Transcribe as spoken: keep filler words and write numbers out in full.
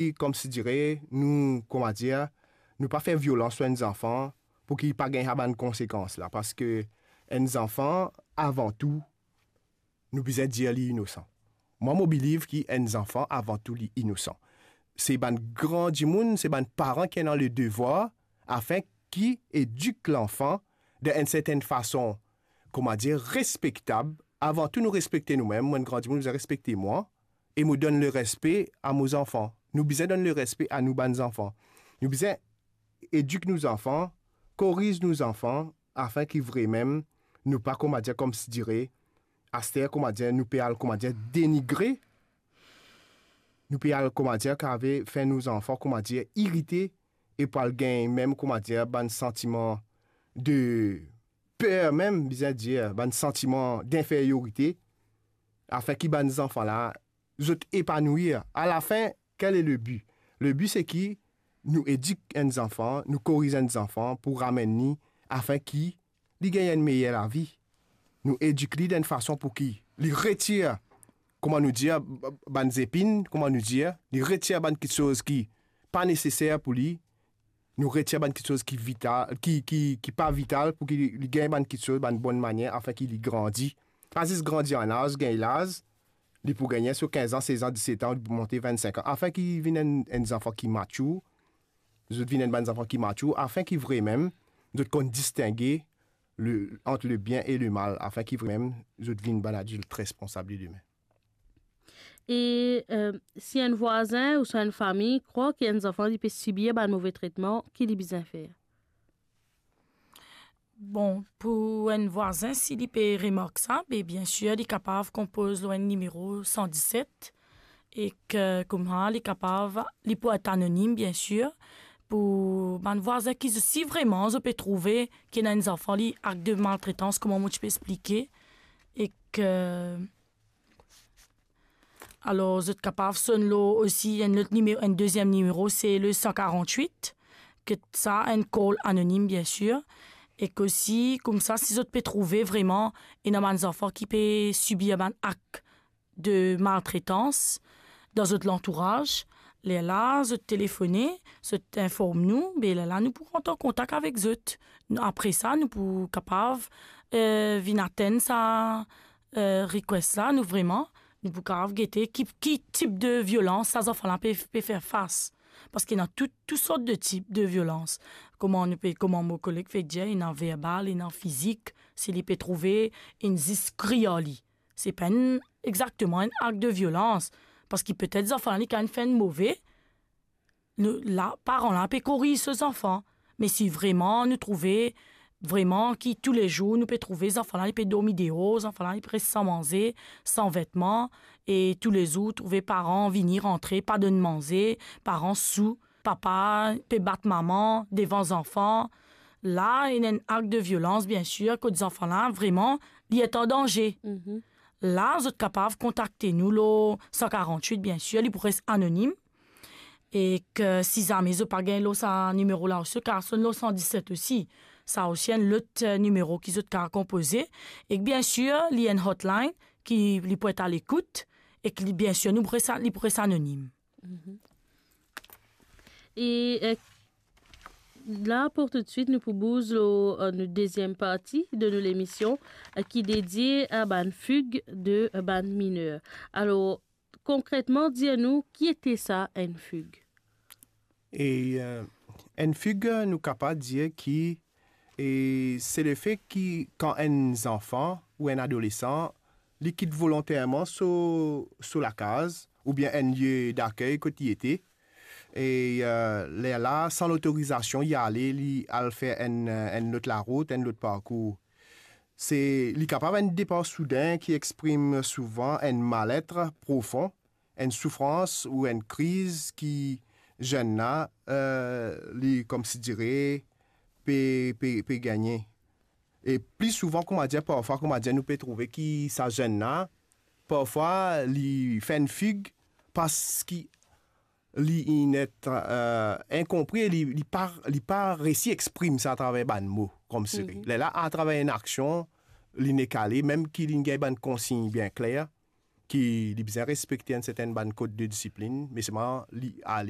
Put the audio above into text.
ki, koumsi dire, nou, kouma dir, nou pa fer violans lor enn zanfan pou ki pa gagn sa bann konsekans la, parski enn zanfan, avan tou, nou bizin dir li inosan. Mwa, mo believe ki enn zanfan, avan tou, li inosan. Se bann gran dimoun, se bann paran ki ena le devwar afin ki edik lanfan dan enn sertenn fason, kouma dir, respektab. Avan tou, nou respekte noumem. Mwa, enn gran dimoun, mo bizin respekte mwa, e mo donn le respe a mo zanfan. Nou bizin donn le respe a nou bann zanfan. Nou bizin edik nou zanfan, koriz nou zanfan, afin ki vremem nou pa, kouma dir, koumsi dire, aster, kouma dir, nou pe al, kouma dir, denigre, nou pe al, kouma dir, kave fer nou zanfan, kouma dir, irite, e pou al gagn mem, kouma dir, bann santiman de per mem, bizin dir, bann santiman dinferyorite, afin ki bann zanfan la, zot epanouir. Alafin, quel est le but? Le but, se ki nou edik enn zanfan, nou koriz enn zanfan pou ramenn li, afin ki li gagn enn meyer lavi. Nou edik li dan enn fason pou ki li retir, kouma nou dir, b-, b-, bann zepin, kouma nou dir, li retir bann kiksoz ki pa neseser pou li, nou retir bann kiksoz ki vital, ki, ki, ki pa vital, pou ki li, li gagn bann kiksoz, bann bonn manier, afin ki li grandi. Pa zis grandi an laz, gagn laz, li pou gagn so kinz an, sez an, diset an, li pou monte vennsenk an, afin ki vinn enn, enn zanfan ki matir, zot vinn enn bann zanfan ki matir, afin ki vremem zot konn distinge le, ant le bien e le mal, afin ki vremem zot vinn bann adilt responsab demin. E, eh, si enn vwazin ouswa enn fami krwar ki enn zanfan li pe sibir bann move tretman, ki li bizin fer? Bon, pou enn vwazin, si li pe remark sa, be, biensir, li kapav konpoz lor enn nimero san diset, ek kouma li kapav, li pou et anonim, biensir, pou bann vwazin ki, si vreman zot pe trouve ki ena enn zanfan li akt de maltretans, kouma mo ti pe explike, ek Alor, zot kapav sonn lor osi enn lot nimero, enn deziem nimero, se le san karant-wit, ki sa enn call anonim, biensir. Ek osi, koumsa, si zot pe trouve vreman ena bann zanfan ki pe sibir bann akt de maltretans dan zot lantouraz, lerla zot telefone, zot inform nou, be lerla nou pou rant an kontak avek zot. Apre sa, nou pou kapav, eh, vinn atenn sa, eh, request la, nou vreman, nou pou kapav gete ki, ki tip de violans sa zanfan la pe, pe fer fas. Parski ena tou, tou sort de tip de violans. Kouma nou pe, kouma mo koleg fek dir, ena verbal, ena fizik, si li pe trouve, inn zis kriy ar li. Se pa enn, exakteman enn akt de violans. Parski petet zanfan la, li kapav fer enn move, nou, la, paran la pe koriz so zanfan. Me si vreman nou trouve, vreman ki toulezour nou pe trouve zanfan la, li pe dormi deor, zanfan la, li pe res san manze, san vetman, e toulezour trouve paran vini rantre, pa donn manze, paran sou, papa pe bat mama devan zanfan. La, ena enn akt de violans, biensir, kot zanfan la, vreman, li et an danze. Mhm. La, zot kapav kontakte nou lor san karant-wit, biensir, li pou res anonim. Ek si zame zot pa gagn lor sa nimero la osi, zot kapav sonn lor san diset osi. Sa osi enn lot, eh, nimero ki zot kapav konpoze. Ek biensir, li enn hotline ki li pou et a lekout. Ek li, biensir, nou pou res, li pou res anonim. Mhm. E, eh, la, pou toutswit, nou pou bouz lor, eh, nou deziem parti de nou lemision, eh, ki dedie a bann fig de, eh, bann miner. Alor, konkretman, dir nou, ki ete sa, enn fig? E, eh, enn fig, nou kapav dir ki, e, se lefe ki kan enn zanfan ou enn adolesan, li kit volonterman so, so lakaz, oubien enn lie dakey kot li ete, e, eh, lerla, san lotorizasion, li ale, li al fer enn, eh, enn lot larout, enn lot parkour. Se, li kapav enn depar soudin ki exprim souvan enn mallet profon, enn soufrans ou enn kriz ki zenn la, eh, li, koumsi dire, pe, pe, pe gagne. E pli souvan, kouma dir, parfwa, kouma dir, nou pe trouve ki sa zenn la, parfwa, li fer enn fig parski li inn et, eh, inkonpri, li, li pa, li pa resi exprim sa atraver bann mo, koumsi. Mhm. Lerla, atraver enn aksion, li nek ale, mem ki li gagn bann konsign bien kler, ki li bizin respekte enn sertenn bann kod de disiplin, me selman li ale